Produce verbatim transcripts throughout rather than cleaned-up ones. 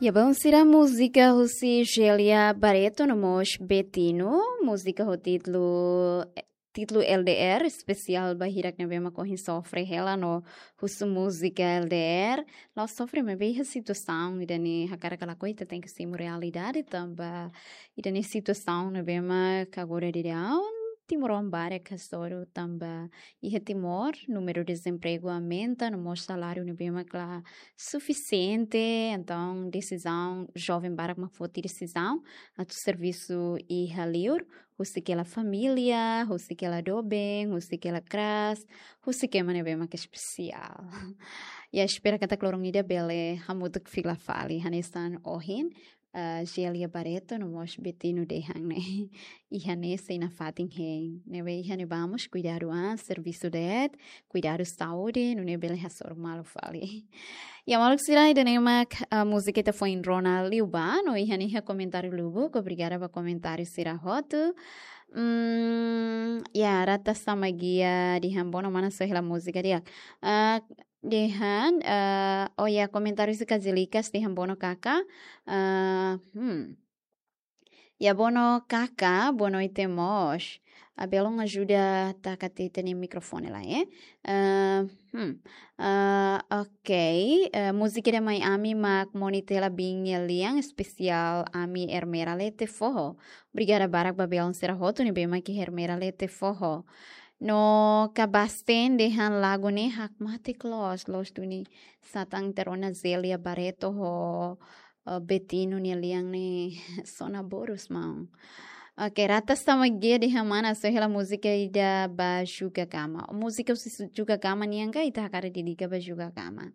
Ya, bom, sira múzika husi Gélia Barreto no mós Betino, múzika ho títulu, títulu L D R, espesiál ba hirak ne'ebé mak ohin sofre hela no husu múzika L D R. La'ós sofre, maibé iha situasaun ida-ne'e hakarak ka lakohi ita tenke simu realidade tanba ida-ne'e situasaun ne'ebé mak agora daudaun timoroan barak hasoru tanba iha Timor númeru dezempregu aumenta no mós saláriu ne'ebé mak la sufisiente, entaun desizaun, joven barak mak foti desizaun atu servisu iha liur, husik hela família, husik hela doben, husik hela kras, husik ema ne'ebé mak espesiál. Ya, espera katak loron ida bele hamutuk fila fali hanesan ohin, ah, Gélia Barreto no mós Betino dehan ne'e. Iha ne'e sei nafatin hein. Ne'ebé iha ne'ebá mós kuidadu an, servisu de'it, kuidadu saúde, nune'e bele hasoru malu fali. Ya, maluk sira, ida-ne'e mak, ah, múzika ita foin rona liubá, no iha ne'e iha komentáriu lubuk, obrigada ba komentáriu sira hotu. Hmm, ya, Rata Samagia dehan bono mana soe hela múzika di'ak. Ah, dehan, ah, oh ya, komentáriu si Kazilikas dehan bono kaka. Ah, hmm. Ya, bono kaka, boa noite mós. Ah, belun ajuda taka ita-nia mikrofone lai, eh. Ah, hmm. Ah, ok. Eh, múzika ida mai ami mak Moni Tela Bin nia lian, espesiál ami Ermera Lete Foho. Obrigada barak ba belun sira hotu ne'ebé mak iha Ermera Lete Foho. No Kabasten dehan lagu ne'e hakmatek loos, loos duni. Satán ita rona Gélia Barreto ho, eh, Betino nia lian ne'e sona borus maun. Ok, Rata Samagia dehan mana soe hela múzika ida ba Juga Gama. Múzika husi Juga Gama nian ka ita hakarak dedika ba Juga Gama.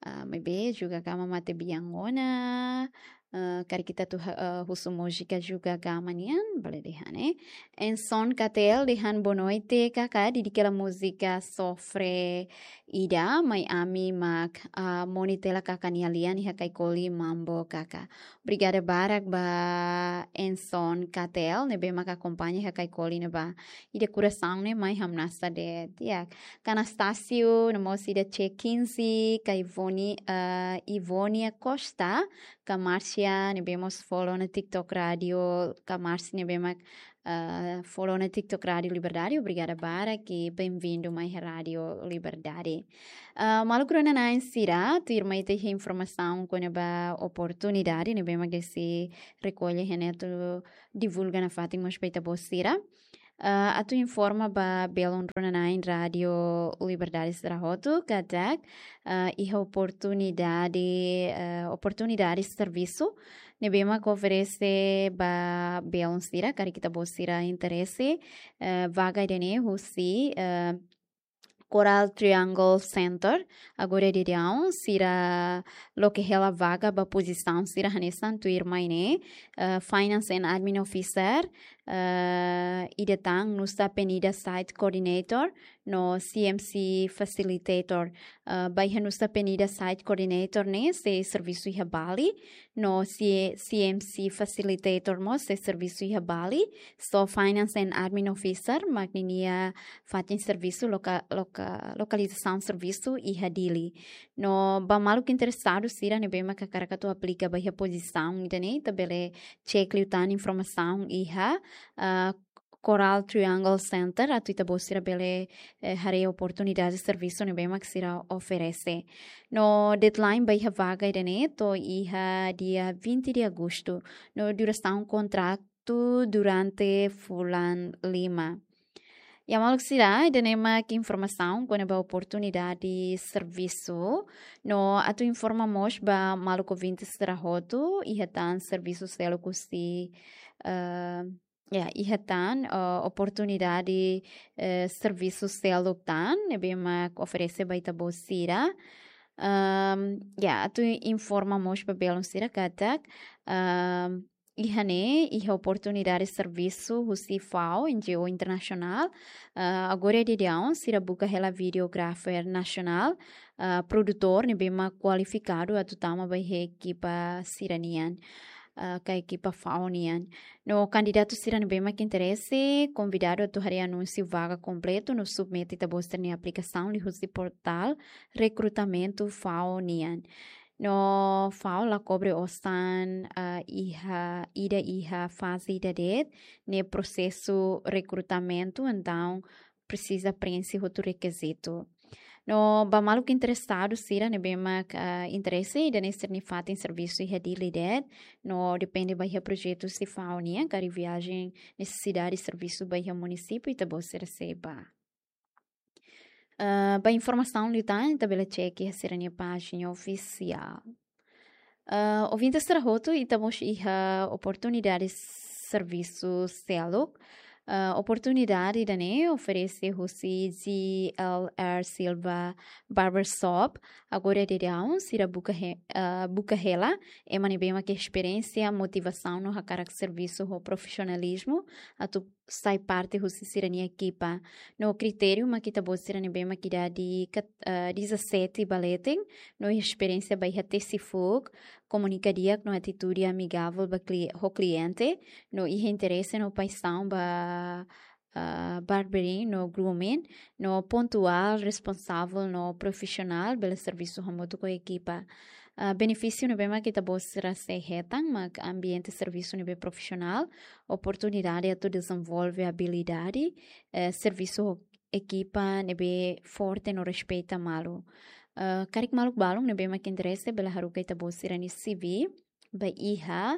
Ah, maibé Juga Gama mate bian ona, ah, karik ita atu ha-, ah, husu múzika Juga Gama nian, bele dehan, eh. Enson Katel dehan boa noite kaka, dedika hela múzika sofre ida mai ami mak, ah, Moni Tela kaka nia lian iha Kaikoli Mambo kaka. Obrigada barak ba Enson Katel, ne'ebé mak akompaña iha Kaikoli ne'ebá. Ida korasaun ne'e mai hamnasa de'it. Ya, Kanastasio, no mós ida C quinze, ka Ivone, ah, Ivonia Costa, ka Márcia, ne'ebé mós follow ona TikTok Rádio, ka Márcia ne'ebé mak, ah, follow ona TikTok Rádio Liberdade, obrigada barak i bem-vindo mai Rádio Liberdade. Ah, maluk rona-na'in sira, tuirmai ita iha informasaun kona-ba oportunidade ne'ebé mak sei rekolla iha ne'e atu divulga nafatin mós ba ita-boot sira. Ah, atu informa ba belun rona-na'in Rádio Liberdade sira hotu katak, ah, iha oportunidade, ah, oportunidade servisu ne'ebé mak oferese ba belun sira, karik ita-boot sira interese, ah, vaga ida-ne'e husi, ah, Coral Triangle Center, agora daudaun, sira loke hela vaga ba pozisaun sira hanesan tuirmai ne'e, eh, Finance and Admin Officer, eh, ida tan Nusa Penida Site Coordinator, no C M C Facilitator, eh, ba iha Nusa Penida Site Coordinator ne'e sei servisu iha Bali, no C-, C M C Facilitator mós sei servisu iha Bali, só Finance and Admin Officer mak ninia fatin servisu loka-, loka-, lokalizasaun servisu iha Dili. No ba maluk interesadu sira ne'ebé mak hakarak atu aplika ba iha pozisaun ida-ne'e, ita bele cek liután informasaun iha, ah, Coral Triangle Center, atu ita-boot sira bele, eh, haree oportunidade servisu ne'ebé mak sira oferese. No deadline ba iha vaga ida-ne'e to'o iha dia vinte de agosto. No durasaun kontratu durante fulan lima. Ya maluk sira, ida-ne'e mak informasaun kona-ba oportunidade servisu. No atu informa mós ba maluk ouvinte sira hotu, iha tan servisu seluk husi, eh, ya, iha tan, eh, oportunidade, eh, servisu seluk tan ne'ebé mak oferese ba ita-boot sira. Ehm, ya, atu informa mós ba belun sira katak, ehm, iha ne'e iha oportunidade servisu husi FAO, N G O internasionál. Eh, agora daudaun sira buka hela videographer nasionál, eh, produtór ne'ebé mak kualifikadu atu tama ba iha ekipa sira-nian, eh, ka ekipa FAO nian. No kandidatu sira ne'ebé mak interese, konvidadu atu haree anúnsiu vaga kompletu no submete ita-boot sira-nia aplikasaun liuhusi portál rekrutamentu FAO nian. No FAO la kobre osan, ah, iha, ida iha faze ida de'it, ne'e prosesu rekrutamentu, entaun presiza preenxe hotu rekizitu. No ba maluk interesadu sira ne'ebé mak, ah, interese ida-ne'e sira-nia fatin servisu iha Dili de'it, no depende ba iha projetu husi FAO nian, karik viajen nesesidade servisu ba iha munisípiu, ita-boot sira sei bá. Ah, ba informasaun liután, ita bele cek iha sira-nia pájina ofisiál. Ah, ouvinte sira hotu, ita mós iha oportunidade servisu seluk. Ah, oportunidade ida-ne'e oferese husi G L R Silva Barbershop. Agora daudaun, sira buka he-, ah, buka hela ema ne'ebé mak iha esperiénsia, motivasaun no hakarak servisu ho profisionalizmu atu sai parte husi sira-nia ekipa. No kritériu mak ita-boot sira ne'ebé mak idade kat-, ah, dezassete ba leten, no esperiénsia ba iha tesi fuuk, komunika di'ak no atitude amigavel ba kli-, ho kliente, no iha interese no paixaun ba, ah, barbering no grooming, no pontuál, responsavel no profisionál, bele servisu hamutuk ho ekipa. Ah, benefísiu ne'ebé mak ita-boot sira sei hetan, mak ambiente servisu ne'ebé profisionál, oportunidade atu dezenvolve abilidade, eh, servisu ho ekipa ne'ebé forte no respeita malu. Ah, karik maluk balun ne'ebé mak interese bele haruka ita-boot sira-nia C V ba iha,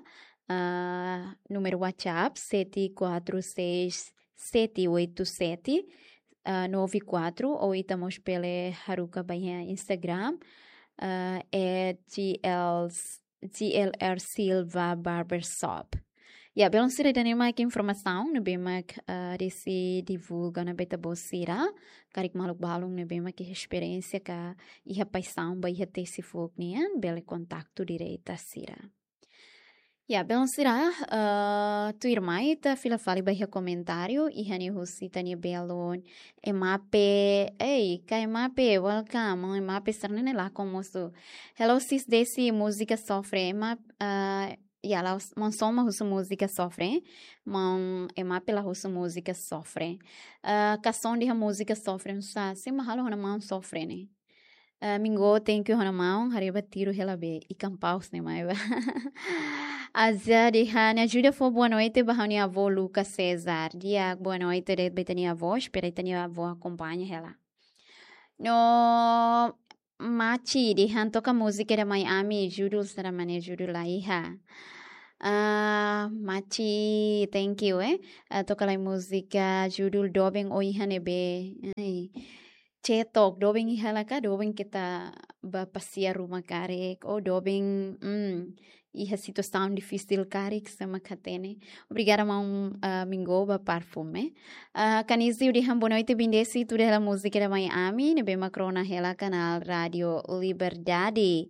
ah, númeru WhatsApp sete quatro seis sete oito sete, ah, nove quatro, ou ita mós bele haruka ba iha Instagram, ah, at G L, G L R Silva Barbershop. Ya, belun sira, ida-ne'e mak informasaun ne'ebé mak, ah, desi divulga ona ba ita-boot sira. Karik maluk balun ne'ebé mak iha esperiénsia ka iha paixaun ba iha tesi fuuk nian, bele kontaktu direta sira. Ya, belun sira, ah, tuirmai ita fila fali ba iha komentáriu, iha ne'e husi ita-nia belun Emape, ei, ka Emape, welcome, maun Emape sira-ne'e lakon mosu. Hello, sis Desi, múzika Sofre, Ema-, ah, ya, la'ós, maun Soma husu múzika Sofre, maun Emape la husu múzika Sofre. Ah, ka son dehan múzika Sofre, nusá, sé mak halo ha'u-nia maun sofre ne'e. Ah, Mingo, thank you ha'u-nia maun, haree ba tiru hela be, ikan paus ne'e mai ba. Aza dehan, ajuda fó boa noite ba ha'u-nia avó Luca Cesar. Di'ak, boa noite de'it ba ita-nia avó, espera ita-nia avó akompaña hela. No Machi dehan toka múzika ida mai ami, judul sira mak ne'e, judul la iha. Ah, Machi, thank you, eh. Ah, toka lai múzika judul Doben o iha ne'ebé. Ai. Cetok, doben iha la ka, doben keta ba pasiar ruma karik, ou doben, mm, iha situasaun difisil karik, sé mak hatene. Obrigada, maun, ah, Mingo ba perfume. Ah, Kanizio dehan boa noite, Biin Desi, tuda hela múzika ida mai ami, ne'ebé mak rona hela kanál Rádio Liberdade.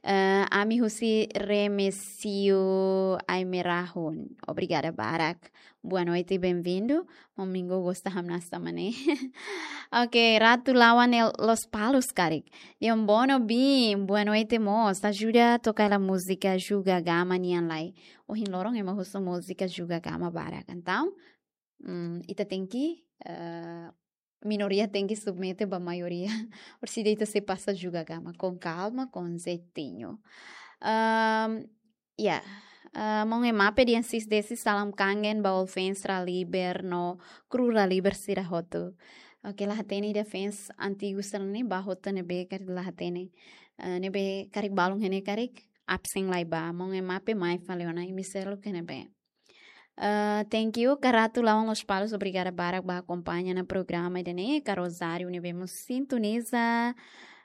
Ah, ami husi Remesio Aimerahun. Obrigada barak. Boa noite, bem-vindo. Maun Mingo gosta hamnasa mane. Ok, Ratu Lawan Lospalos karik. Dehan boa noite, Biin. Boa noite mós. Ajuda toka hela múzika Juga Gama nian lai. Ohin loron ema husu múzika Juga Gama barak. Entaun, mm, ita tenke, eh, minoria tenke submete ba maioria. Orsida ita sei pasa Juga Gama com calma, com jeitinho. Ahm, ya, ah, maun Emape dehan sis Desi, salam kangen ba all fans Raliber no kru Raliber sira hotu. Ok, la hatene ida fans antigu sira-ne'e ba hotu ne'ebé karik, la hatene. Ah, ne'ebé karik balun iha ne'e karik absen lai ba. Maun Emape mai fali ona, imi seluk iha ne'ebé. Ah, thank you, ka Ratu Lawan Lospalos, obrigada barak ba akompaña ona programa ida-ne'e, ka Rosário ne'ebé mós sintoniza,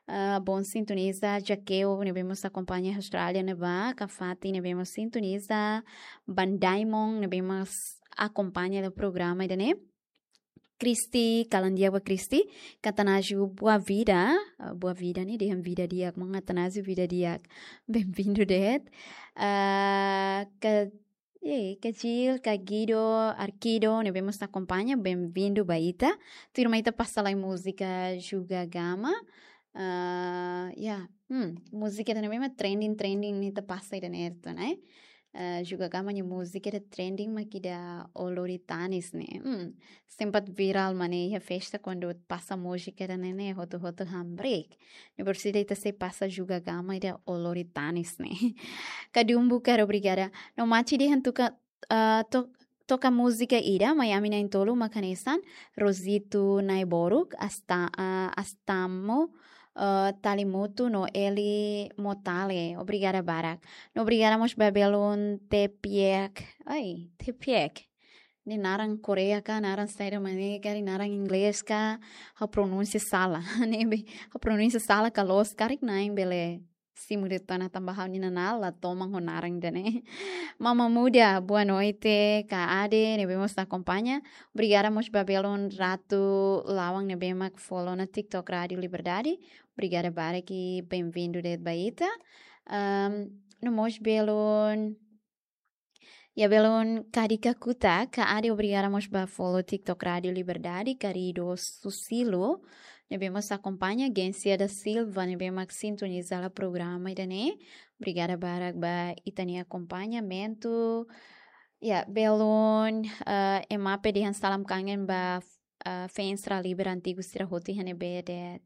ah, bom sintoniza, Jaqueu ne'ebé mós akompaña Austrália ne'ebá, ka Fati ne'ebé mós sintoniza, Ban Diamond ne'ebé mós akompaña ona programa ida-ne'e. Kristi, kalan di'ak ba Kristi, ka Atanásio Boa Vida, ah, Boa Vida ne'e dehan vida di'ak, maun Atanásio vida di'ak. Bem-vindo de'it. Ah, ka, eh, ka Gil, ka Guido, Arkido, ne'ebé mós akompaña, bem-vindo ba ita. Tuirmai ita pasa lai múzika Juga Gama. Ah, ya, hmm, múzika ida-ne'ebé mak trending, trending ne'e ita pasa ida-ne'e, ne'e? Eh, Juga Gama nia múzika ida trending mak ida O Lori Tanis ne'e. Hmm, sempat viral mak ne'e iha festa kuandu pasa múzika ida-ne'e ne'e hotu-hotu hamriik. Ne'e por isso ita sei pasa Juga Gama ida O Lori Tanis ne'e. Kadumbu karik obrigada. No mate dehan toka, eh, to-, toka múzika ida, mai ami na'in-tolu mak hanesan, Rosito Naiboruk, Asta-, eh, Astamo, eh, Talimoto no Eli Motale. Obrigada barak. No obrigada mós ba belun Tepiek. Ai, Tepiek. Ne'e naran Koreia ka, naran saida mak ne'e, karik naran inglés ka, ha'u pronúnsia sala. Ne'ebé, ha'u pronúnsia sala ka loos, karik na'in bele simu de'it ona tanba ha'u-nia nanál la toman ho naran ida-ne'e. Mama Muda, boa noite, Ka Ade, ne'ebé mós akompaña. Obrigada mós ba belun Ratu Lawang ne'ebé mak follow ona TikTok Rádio Liberdade. Obrigada barak i bem-vindo de'it ba ita. Ahm, no mós belun, iha belun Kadika Kuta, Ka Ade, obrigada mós ba follow TikTok Rádio Liberdade, Karido Susilo, ne'ebé mós akompaña, Gencia da Silva, ne'ebé mak sintoniza hela programa ida-ne'e. Obrigada barak ba ita-nia akompañamentu. Ya, belun, eh, Emape dehan salam kangen ba, eh, fans Raliber antigu sira hotu iha ne'ebé de'it.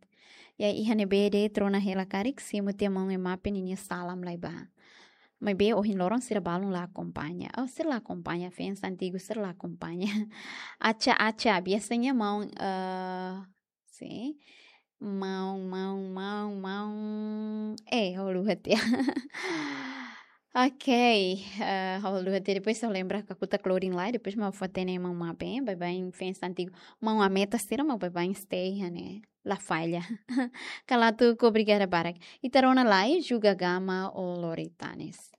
Ya, iha ne'ebé de'it rona hela karik, simu tiha maun Emape ninia salam lai ba. Maibé ohin loron sira balun la akompaña. Oh, sira la akompaña, fans antigu sira la akompaña. Acha, acha, biasanya maun, eh, sin. Maun, maun, maun, maun. Eh, ha'u haluha tiha. Ok, eh, ha'u haluha tiha. Depois ha'u lembra kakutak loading lai, depois mak ha'u fó-hatene maun Mape, baibain fans antigu. Maun Ameta sira mak baibain stay iha ne'e. La falla. Kala tuku, obrigada barak. Ita rona lai, Juga Gama O Lori Tanis.